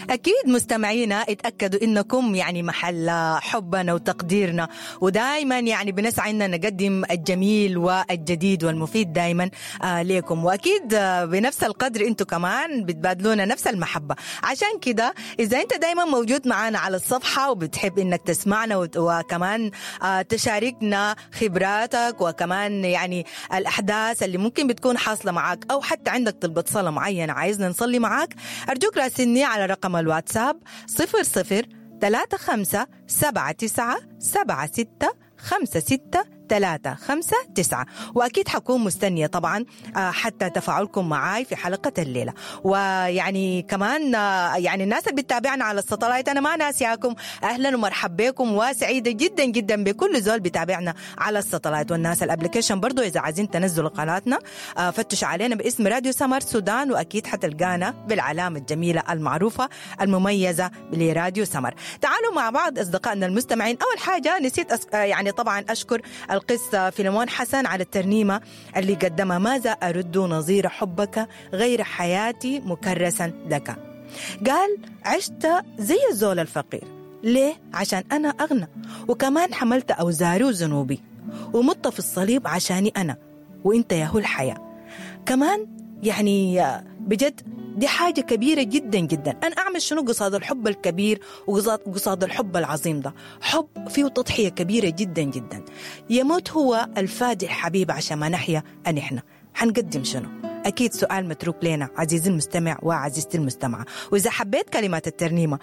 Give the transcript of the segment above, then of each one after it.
أكيد مستمعينا اتأكدوا إنكم يعني محل حبنا وتقديرنا، ودائما يعني بنسعى إننا نقدم الجميل والجديد والمفيد دائما لكم، وأكيد بنفس القدر أنتم كمان بتبادلونا نفس المحبة. عشان كده إذا أنت دائما موجود معنا على الصفحة وبتحب إنك تسمعنا وكمان تشاركنا خبراتك وكمان يعني الأحداث اللي ممكن بتكون حاصلة معاك، أو حتى عندك طلبة صلاة معينة عايزنا نصلي معاك، أرجوك راسلني على رقم الواتساب 00 35 79 76 56 3 5 9. وأكيد حكون مستنية طبعا حتى تفاعلكم معاي في حلقة الليلة. ويعني كمان يعني الناس اللي بتتابعنا على الساتلايت أنا ما ناسياكم، أهلا ومرحبا بكم، وسعيدة جدا جدا بكل زول بتابعنا على الساتلايت. والناس ال application برضو إذا عايزين تنزلوا قناتنا فتشوا علينا باسم راديو سمر سودان، وأكيد حتلقانا بالعلامة الجميلة المعروفة المميزة لراديو سمر. تعالوا مع بعض أصدقائنا المستمعين. أول حاجة نسيت يعني طبعا أشكر القس فيلمون حسن على الترنيمة اللي قدمها، ماذا أرد نظير حبك غير حياتي مكرسا لك. قال عشت زي الزول الفقير، ليه؟ عشان أنا أغنى، وكمان حملت أوزاري وذنوبي، ومت في الصليب عشاني أنا، وإنت يا هو الحياة. كمان يعني بجد دي حاجة كبيرة جدا جدا. أنا أعمل شنو قصاد الحب الكبير وقصاد الحب العظيم ده؟ حب فيه تضحية كبيرة جدا جدا. يموت هو الفادي الحبيب عشان ما نحيا أن إحنا حنقدم شنو؟ أكيد سؤال متروك لنا عزيزي المستمع وعزيزتي المستمعة. وإذا حبيت كلمات الترنيمة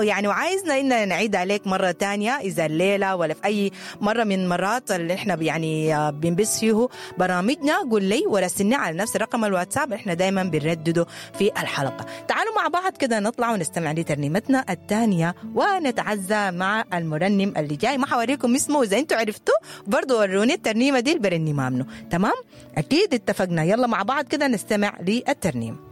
يعني وعايزنا إننا نعيد عليك مرة تانية، إذا الليلة ولا في أي مرة من مرات اللي إحنا يعني بنبث فيه برامجنا، قول لي وراسلني على نفس رقم الواتساب، إحنا دايما بنردده في الحلقة. تعالوا مع بعض كده نطلع ونستمع لترنيمتنا الثانية ونتعزى مع المرنم اللي جاي. ما حوريكم اسمه، وإذا أنتوا عرفتوه برضو وروني الترنيمة دي البرنيمة منه. تمام؟ أكيد اتفقنا. يلا مع بعض كده نستمع للترنيم.